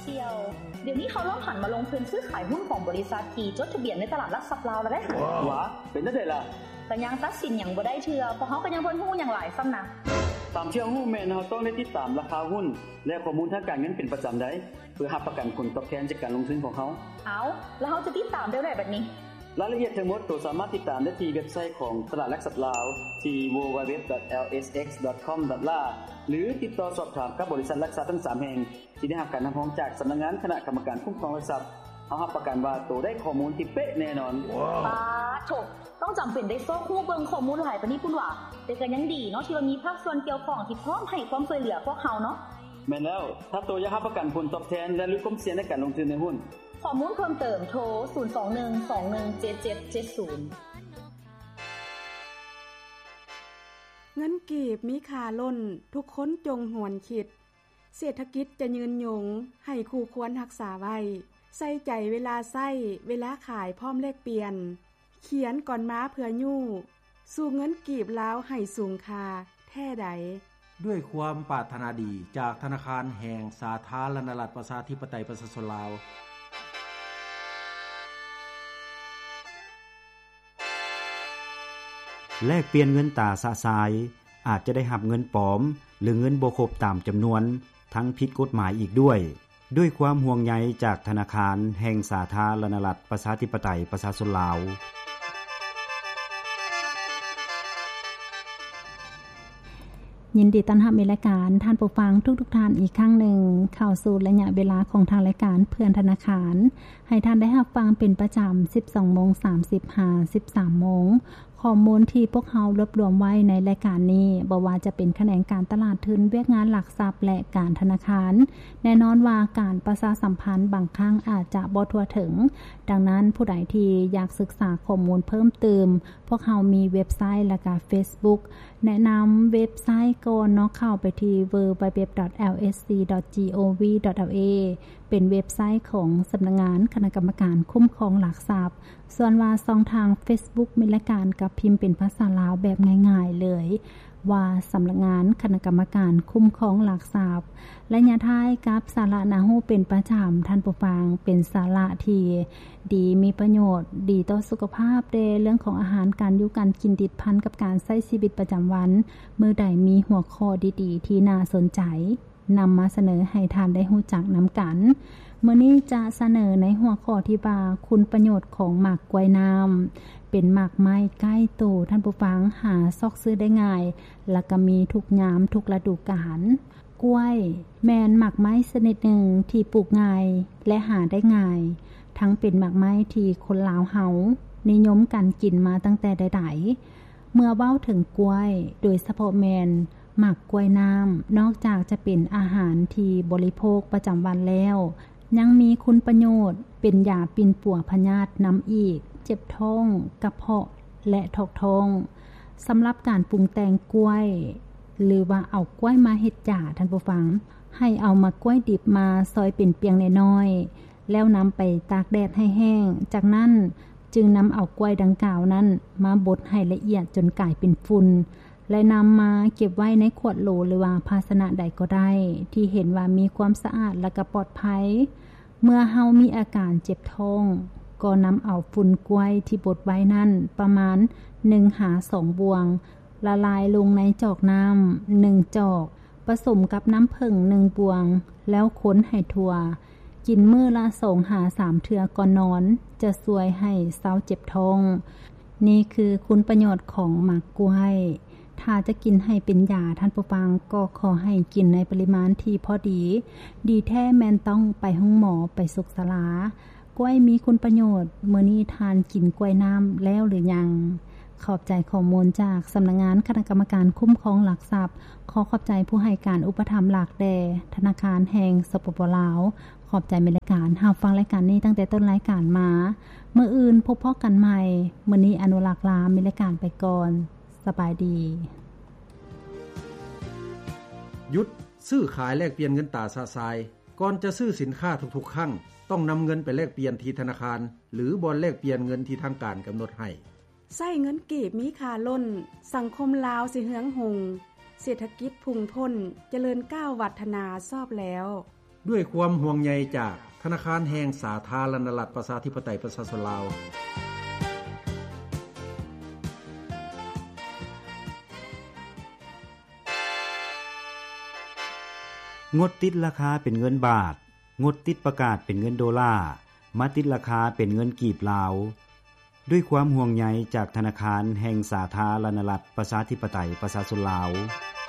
ສ່ຽວ. ດຽວນີ້ເຂົາເລີ່ມຫັນມາລົງທຶນຊື້ຂາຍຫຸ້ນຂອງບໍລິສັດທີ່ຈົດທະບຽນໃນຕະຫຼາດຫຼັກຊັບລາວແລ້ວເດ້. ຫວາ ເປັນຈັ່ງໃດລະ? ກໍຍັງຕັດສິນຫຍັງບໍ່ໄດ້ເທື່ອ, ພວກເຮົາກໍຍັງບໍ່ຮູ້ຫຍັງຫຼາຍຊ້ຳນະ. ຕາມທີ່ເຮົາຮູ້ແມ່ນເຮົາຕ້ອງໄດ້ຕິດຕາມລາຄາຫຸ້ນ ແລະ ຂໍ້ມູນທາງການເງິນເປັນປະຈຳໄດ໋ ເພື່ອຮັບປະກັນຜົນຕອບແທນຈາກການລົງທຶນຂອງເຮົາ. ເອົາ, ແລ້ວເຮົາຈະຕິດຕາມແນວໃດບັດນີ້? ລາຍລະອຽດທັງໝົດໂຕສາມາດຕິດຕາມໄດ້ທີ່ເວັບໄຊຂອງຕະຫຼາດຫຼັກຊັບລາວ ທີ່ www.lsx.com.la ຫຼື ຕິດຕໍ່ສອບຖາມກັບບໍລິສັດຫຼັກຊັບທັງສາມແຫ່ງ ທີ່ໄດ້ຮັບການຮັບຮອງຈາກສຳນັກງານຄະນະກຳມະການຄຸ້ມຄອງຫຼັກຊັບ. ເຮົາຮັບປະກັນວ່າໂຕໄດ້ຂໍ້ມູນທີ່ເປະແນ່ນອນ. ປາໂທ້ ຕ້ອງຈຳເປັນໄດ້ຊອກຮູ້ເບິ່ງຂໍ້ມູນຫຼາຍປານນີ້ພຸ້ນຫວາ? ແຕ່ກໍຍັງດີເນາະ ທີ່ວ່າມີພາກສ່ວນກ່ຽວຂ້ອງທີ່ພ້ອມໃຫ້ຄວາມຊ່ວຍເຫຼືອພວກເຮົາເນາະ. ແມ່ນແລ້ວ, ຖ້າໂຕຢາກຮັບປະກັນຜົນຕອບແທນ ແລະ ຫຼຸດຄວາມສ່ຽງໃນການລົງທຶນໃນຫຸ້ນ. ຂໍ້ມູນເພີ່ມເຕີມ ໂທ ສູນສອງໜຶ່ງສອງໜຶ່ງເຈັດເຈັດເຈັດສູນ. ເງິນກີບມີຄ່າລົ້ນ, ທຸກຄົນຈົ່ງຫວນຄິດ. ເສດຖະກິດຈະຍືນຍົງ, ໃຫ້ຄູ່ຄວນຮັກສາໄວ້. ໃສ່ໃຈເວລາໃຊ້, ເວລາຂາຍພ້ອມແລກປ່ຽນ. ຂຽນກ່ອນມາເພື່ອຍູ້, ສູ້ເງິນກີບລາວໃຫ້ສູງຄ່າແທ້ໃດ. ດ້ວຍຄວາມປາດຖະໜາດີຈາກທະນາຄານແຫ່ງສາທາລະນະລັດ ປະຊາທິປະໄຕ ປະຊາຊົນລາວ. ແລກປ່ຽນເງິນຕາຊະຊາຍ, ອາດຈະໄດ້ຮັບເງິນປອມ ຫຼື ເງິນບໍ່ຄົບຕາມຈຳນວນ, ທັງຜິດກົດໝາຍອີກດ້ວຍ. ດ້ວຍຄວາມຫ່ວງໃຍຈາກທະນາຄານແຫ່ງສາທາລະນະລັດ ປະຊາທິປະໄຕ ປະຊາຊົນລາວ. ຍິນດີຕ້ອນຮັບໃນລາຍການ ທ່ານຜູ້ຟັງທຸກໆທ່ານອີກຄັ້ງໜຶ່ງ ເຂົ້າສູ່ໄລຍະເວລາຂອງທາງລາຍການເພື່ອນທະນາຄານ ໃຫ້ທ່ານໄດ້ຮັບຟັງເປັນປະຈຳ ສິບສອງໂມງສາມສິບ ຫາ ສິບສາມໂມງ. ຂໍ້ມູນທີ່ພວກເຮົາລວບລວມໄວ້ໃນລາຍການນີ້ ບໍ່ວ່າຈະເປັນຂະແໜງການຕະຫຼາດທຶນ, ວຽກງານຫຼັກຊັບ ແລະ ການທະນາຄານ, ແນ່ນອນວ່າການປະຊາສຳພັນບາງຄັ້ງອາດຈະບໍ່ທົ່ວເຖິງ. ດັ່ງນັ້ນ, ຜູ້ໃດທີ່ຢາກສຶກສາຂໍ້ມູນເພີ່ມເຕີມ, ພວກເຮົາມີເວັບໄຊ ແລະ ກະເຟສບຸກ. ແນະນຳເວັບໄຊກ່ອນເນາະ, ເຂົ້າໄປທີ່ www.lsc.gov.la ເປັນເວັບໄຊຂອງສຳນັກງານຄະນະກຳມະການຄຸ້ມຄອງຫຼັກຊັບ. ສ່ວນວ່າຊ່ອງທາງເຟສບຸກມີລາຍການ ກໍພິມເປັນພາສາລາວແບບງ່າຍໆເລີຍວ່າ ສຳນັກງານຄະນະກຳມະການຄຸ້ມຄອງຫຼັກຊັບ. ໄລຍະທ້າຍກັບສາລະໜ້າຮູ້ເປັນປະຈຳ, ທ່ານຜູ້ຟັງ, ເປັນສາລະທີ່ດີ, ມີປະໂຫຍດ, ດີຕໍ່ສຸຂະພາບແດ່, ເລື່ອງຂອງອາຫານການຢູ່ການກິນ, ຕິດພັນກັບການໃຊ້ຊີວິດປະຈຳວັນ, ມື້ໃດມີຫົວຂໍ້ດີໆທີ່ໜ້າສົນໃຈ ນຳມາສະເໜີໃຫ້ທ່ານໄດ້ຮູ້ຈັກນຳກັນ. ມື້ນີ້ຈະສະເໜີໃນຫົວຂໍ້ທີ່ວ່າ ຄຸນປະໂຫຍດຂອງໝາກກ້ວຍນ້ຳ. ເປັນໝາກໄມ້ໃກ້ໂຕ, ທ່ານຜູ້ຟັງ, ຫາຊອກຊື້ໄດ້ງ່າຍ ແລະ ກໍມີທຸກຍາມທຸກລະດູການ. ກ້ວຍແມ່ນໝາກໄມ້ຊະນິດໜຶ່ງທີ່ປູກງ່າຍ ແລະ ຫາໄດ້ງ່າຍ, ທັງເປັນໝາກໄມ້ທີ່ຄົນລາວເຮົານິຍົມກັນກິນມາຕັ້ງແຕ່ໃດໆ. ເມື່ອເວົ້າເຖິງກ້ວຍ, ໂດຍສະເພາະແມ່ນໝາກກ້ວຍນ້ຳ, ນອກຈາກຈະເປັນອາຫານທີ່ບໍລິໂພກປະຈຳວັນແລ້ວ, ຍັງມີຄຸນປະໂຫຍດເປັນຢາປິ່ນປົວພະຍາດນຳອີກ, ເຈັບທ້ອງ, ກະເພາະ ແລະ ຖອກທ້ອງ. ສຳລັບການປຸງແຕ່ງກ້ວຍ ຫຼືວ່າເອົາກ້ວຍມາເຮັດຢາ, ທ່ານຜູ້ຟັງ, ໃຫ້ເອົາໝາກກ້ວຍດິບມາຊອຍເປັນປ່ຽງນ້ອຍໆ ແລ້ວນຳໄປຕາກແດດໃຫ້ແຫ້ງ. ຈາກນັ້ນຈຶ່ງນຳເອົາກ້ວຍດັ່ງກ່າວນັ້ນມາບົດໃຫ້ລະອຽດຈົນກາຍເປັນຝຸ່ນ ແລະ ນຳມາເກັບໄວ້ໃນຂວດໂຫຼ ຫຼືວ່າພາຊະນະໃດກໍໄດ້ ທີ່ເຫັນວ່າມີຄວາມສະອາດ ແລະ ກໍປອດໄພ. ເມື່ອເຮົາມີອາການເຈັບທ້ອງ, ກໍນຳເອົາຝຸ່ນກ້ວຍທີ່ບົດໄວ້ນັ້ນປະມານໜຶ່ງຫາສອງບ່ວງ ລະລາຍລົງໃນຈອກນ້ຳໜຶ່ງຈອກ, ປະສົມກັບນ້ຳເຜິ້ງໜຶ່ງບ່ວງ ແລ້ວຄົນໃຫ້ທົ່ວ. ກິນມື້ລະສອງຫາສາມເທື່ອກ່ອນນອນ ຈະຊ່ວຍໃຫ້ເຊົາເຈັບທ້ອງ. ນີ້ຄືຄຸນປະໂຫຍດຂອງໝາກກ້ວຍ. ຖ້າຈະກິນໃຫ້ເປັນຢາ, ທ່ານຜູ້ຟັງ, ກໍຂໍໃຫ້ກິນໃນປະລິມານທີ່ພໍດີ. ດີແທ້ແມ່ນຕ້ອງໄປໂຮງໝໍ, ໄປສຸກສາລາ. ກ້ວຍມີຄຸນປະໂຫຍດ, ມື້ນີ້ທ່ານກິນກ້ວຍນ້ຳແລ້ວຫຼືຍັງ? ຂອບໃຈຂໍ້ມູນຈາກສຳນັກງານຄະນະກຳມະການຄຸ້ມຄອງຫຼັກຊັບ. ຂໍຂອບໃຈຜູ້ໃຫ້ການອຸປະຖຳຫຼັກແດ່ ທະນາຄານແຫ່ງ ສປປ ລາວ. ຂອບໃຈແມ່ນລາຍການ ຮັບຟັງລາຍການນີ້ຕັ້ງແຕ່ຕົ້ນລາຍການມາ. ມື້ອື່ນພົບພໍ້ກັນໃໝ່. ມື້ນີ້ອະນຸລັກລາແມ່ນລາຍການໄປກ່ອນ. ສະບາຍດີ. ຢຸດຊື້ຂາຍແລກປ່ຽນເງິນຕາຊະຊາຍ. ກ່ອນຈະຊື້ສິນຄ້າທຸກໆຄັ້ງ, ຕ້ອງນຳເງິນໄປແລກປ່ຽນທີ່ທະນາຄານ ຫຼື ບ່ອນແລກປ່ຽນເງິນທີ່ທາງການກຳນົດໃຫ້. ໃຊ້ເງິນກີບມີຄ່າລົ້ນ, ສັງຄົມລາວຊິເຮືອງຮຸ່ງ, ເສດຖະກິດພຸ່ງພົ້ນ, ຈະເລີນກ້າວວັດທະນາຊອບແລ້ວ. ດ້ວຍຄວາມຫ່ວງໃຍຈາກທະນາຄານແຫ່ງສາທາລະນະລັດ ປະຊາທິປະໄຕ ປະຊາຊົນລາວ. ງົດຕິດລາຄາເປັນເງິນບາດ, ງົດຕິດປະກາດເປັນເງິນໂດລາ, ມາຕິດລາຄາເປັນເງິນກີບລາວ. ດ້ວຍຄວາມຫ່ວງໃຍຈາກທະນາຄານແຫ່ງສາທາລະນະລັດ ປະຊາທິປະໄຕ ປະຊາຊົນລາວ.